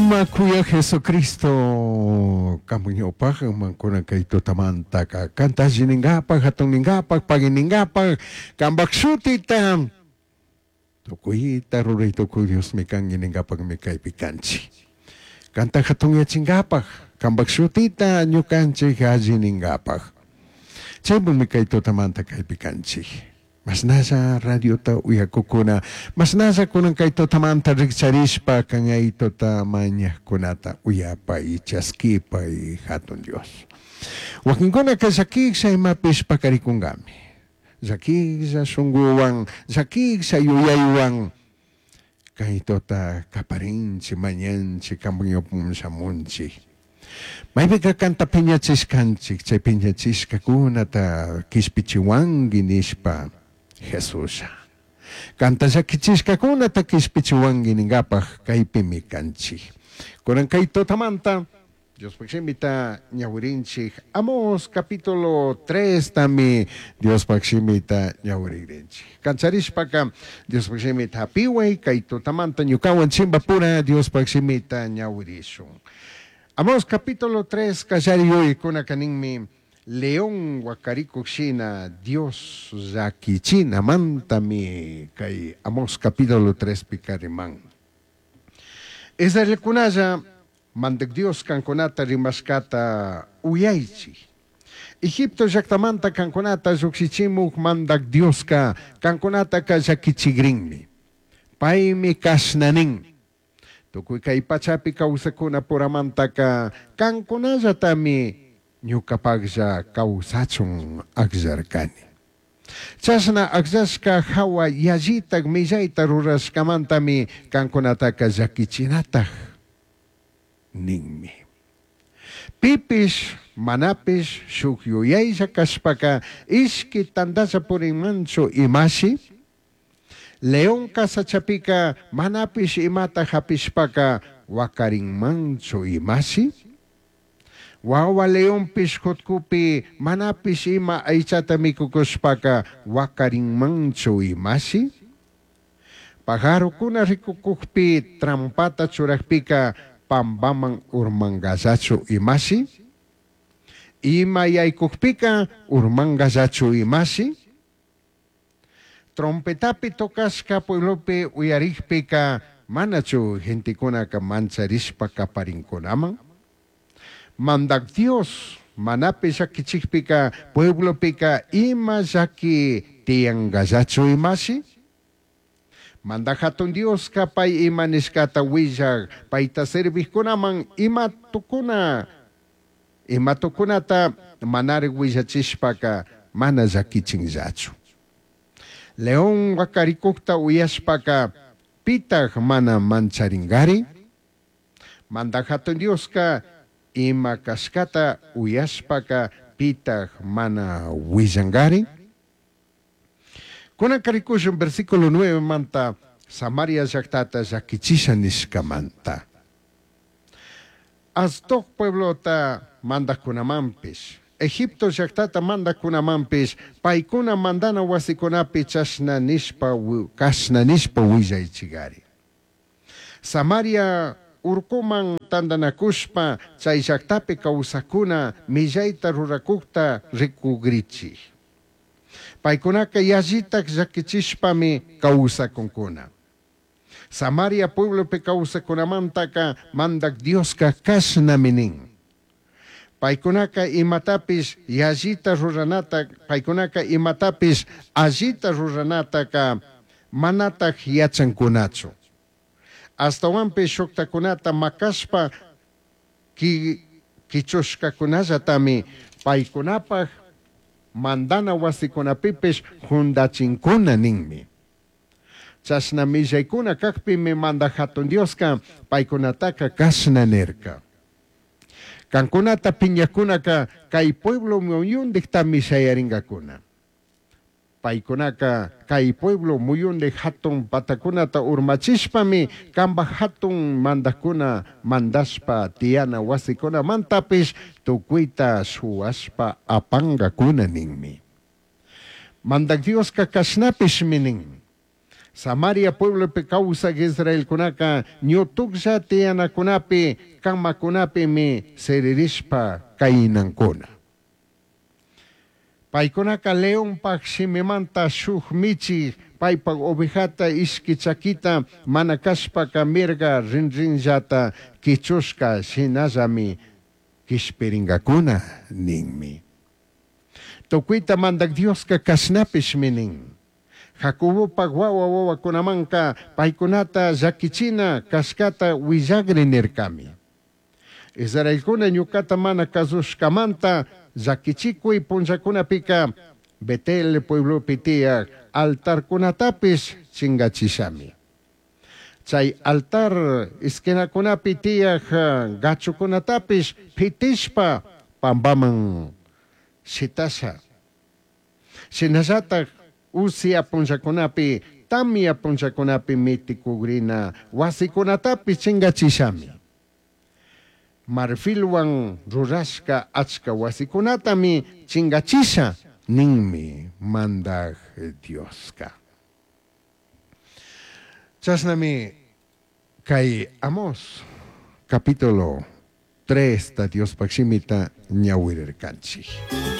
Sumaj kuyaj Jesucristo kanpak ñawpajman kunan kay tutamantaka kanta alli ninkapak, hatun ninkapak, pagui ninkapak, kanpak shutita tukuyta ruray tukuy Diosmi kanki ninkapakmi kaypi kanchik. Kanta hatunyachinkapak, kanpak shutita ñukanchik alli ninkapak. Chaypimi kay tutamanta kaypi kanchik. Mashnalla radiota uyakukuna, mashnalla kunan kay tutamanta rikcharishpa kan tuta mañajkunata uyapay, chaskipay, hatun Dios. Wakinkunaka llakisha imapish pakarikunkami. Llakisha shunkuwan, llakisha yuyaywan kay tuta kaparinchik, mañanchik, kanpak ñawpaman shamunchik. Maypika kanta piñachishkanchik, chay piñachishkakunata kishpichiwanki nishpa Jesuslla. Kanta llakichishkakunata kishpichiwanki ninkapak kaypimi kanchik. Kunan kay tutamanta Diospaj shimita ñawirinchik Amós capítulo 3 tami Diospaj shimita ñawirigrinchik. Kancharishpaka Diospaj shimita hapiway kay tutamanta ñukawan chimbapura Diospaj shimita ñawirishun. Amós capítulo 3 kallari yuyaykunaka ninmi León wakarikuk shina Dios llakichinamantami kay Amós capítulo 3 pika riman. Israelkunalla Mandak Dios kankunata rimashkata uyaychik. Egipto llaktamanta kankunata llukshichimuk Mandak Dioska kankunataka llakichikrinmi. Paymi kashna nin. Tukuy kay pachapi kawsakuna puramantaka kankunallatami ñukapaklla kawsachun akllarkani. Chashna akllashka hawa yallitak millayta rurashkamantami kankunataka llakichinataj ninmi. Pipish manapish shuk yuyaylla kashpaka ishki tantalla purinmanchu imashi? León sachapika manapish imata hapishpaka wakarinmanchu imashi? Wawa leonpish jutkupi manapish ima aychata mikukushpaka wakarinmanchu imashi? Pajarokuna rikukukpi trampata churakpika pambaman urmangallachu imashi? Ima yaykukpika urmangallachu imashi? Trompetapi tocashka pueblopi uyarikpika manachu gentekunaka mancharishpa kaparinkunaman? Mandak Dios manapi llakichikpika pueblopika ima llaki tiyangallachu imashi? Mandak hatun Dioska pay ima nishkata willak payta servijkunaman ima tukuna ima tukunata manarik willachishpaka mana llakichinllachu. León wakarikukta uyashpaka pitaj mana mancharingari? Mandak hatun Dioska ima kashkata uyashpaka pitaj mana willangari? Kunan rikushun versículo 9 manta Samaria llaktata llakichisha nishkamanta. Asdod pueblota mandajkunamanpish, Egipto llaktata mandajkunamanpish, paykuna mandana wasikunapi chashna nishpa kashna nishpa willaychigari. Samaria urkuman tantanakushpa chay llaktapi kawsakuna millayta rurakukta rikugrichik. Paykunaka yallitak llakichishpami kawsakunkuna. Samaria pueblopi kawsakunamantaka mandak Dioska kashnami nin. Paykunaka imatapish yallita ruranata, paykunaka imatapish allita ruranataka manataj yachankunachu. Ashtawanpish shuktakunata makashpa kichushkakunallatami paykunapaj mandana wasikunapipish jundachinkuna ninmi. Chashna millaykuna kakpimi mandak hatun Dioska paykunataka kashna nirka. Kankunata piñakunaka kay pueblo muyundiktami shayarinkakuna. Paykunaka kay pueblo muyundik hatun patakunata urmachishpami kanpak hatun mandakuna mandashpa tiyana wasikunamantapish tukuyta shuwashpa apankakuna ninmi. Mandak Dioska kashnapishmi nin. Samaria pueblopi causaj israelcunaca ñutujlla tiyanacunapi, camacunapimi siririshpa cainancuna. Paicunaca leonpaj shimimanta shuj michij paipaj ovejata ishqui chaquita mana cashpaca mirga rinrinllata quichushca shinallami quishpiringacuna ninmi. Tucuita Mandaj Diosca cashnapishmi nin. Jacobopaj huahua huahuacunamanca paicunata llaquichina cashcata huillagri nircami. Israelcuna ñucata mana cazushcamanta llaquichicui punllacunapica Betel pueblopi tiyaj altarcunatapish chingachishami. Chai altar esquinacunapi tiyaj gachucunatapish pitishpa pambaman shitasha. Shinallataj usia punllacunapi, tamya punllacunapi miticugrina huasicunatapish chingachishami. Marfilhuan rurashca achca huasicunatami chingachisha ninmi Mandaj Diosca. Chashnami cai Amós capítulo 3 ta Diospaj shimita ñahuirircanchij.